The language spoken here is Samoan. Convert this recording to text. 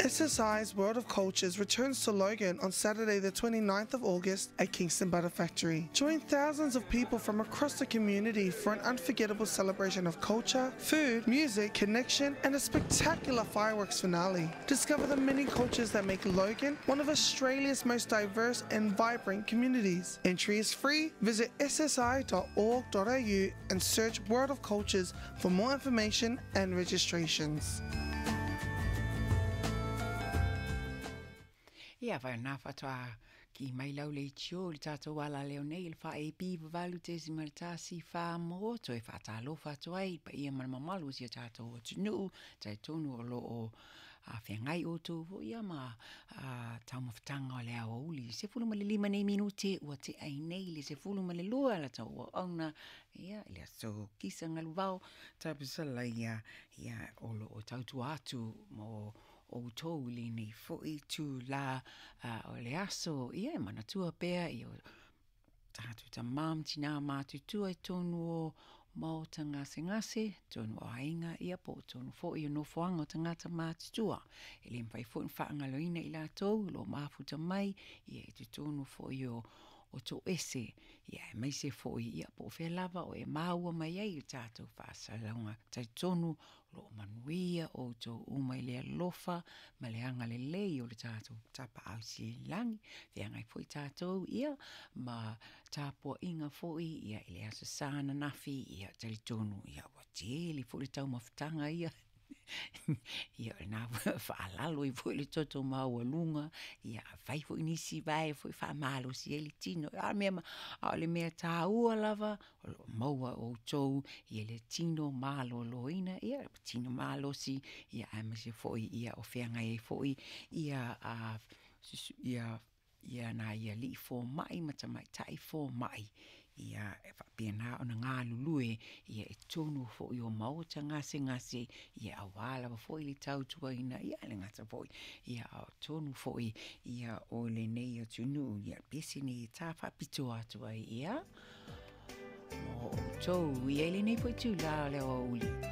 SSI's World of Cultures returns to Logan on Saturday the 29th of August at Kingston Butter Factory. Join thousands of people from across the community for an unforgettable celebration of culture, food, music, connection, and a spectacular fireworks finale. Discover the many cultures that make Logan one of Australia's most diverse and vibrant communities. Entry is free. Visit ssi.org.au and search World of Cultures for more information and registrations. Ia, whai nā whatoa ki mai lau le tio le tātou ala leo nei le wha e pi walu te si maratasi wha mō toi wha tālofa atu ai pa ia mana mamalu si a tātou atunuu tai tonu o lo o a whengai o tō fo ia ma a taumafataga o le aoauli. 15 nei minute ua tea ai nei le 12 la tau auauna ia i le aso kisa galuvao tapusala ia ia o lo o tautua atu mo outou i lenei foi itulā o le aso ia e manatua pea i o tātou tamā ma tinā matutua i tonu o maota gasegase, tonu o aiga, ia po o tonu foi o nofoaga o tagata matutua. E le mafai foi ona faagaloina i latou o lo o mafuta mai, ia i totonu foi o o toese, ia aemaise foi ia po o fea lava o e maua mai ai i tatou faasalalauga talitonu o lo o manuia outou uma i le alofa ma le agalelei o le tatou Tapaau Sililagi, feagai foi tatou ia ma tapuaiga foi ia i le Aso Sa ananafi, ia talitonu ia ua tele foi le taumafataga ia ia o lena foi e faalalo ai foi le toto maualuga, ia fai foi nisi vae foi faamalosi ai le tino. A o le mea, a o le mea taua lava, o lo o maua e outou ia le tino maloloina, ia tino malosi, ia aemaise foi ia o feagai ai foi ia a ia ia nai alii fomai ma tamaitai fomai, ia e faapena ona galulue ia i totonu foi o maota gasegase, ia aua lava foi le tautuaina, ia e le gata foi, ia a o totonu foi ia o lenei atunuu, ia pese nei e tā faapitoa atu ai ia mo outou ia i lenei foi itulā o le aoauli.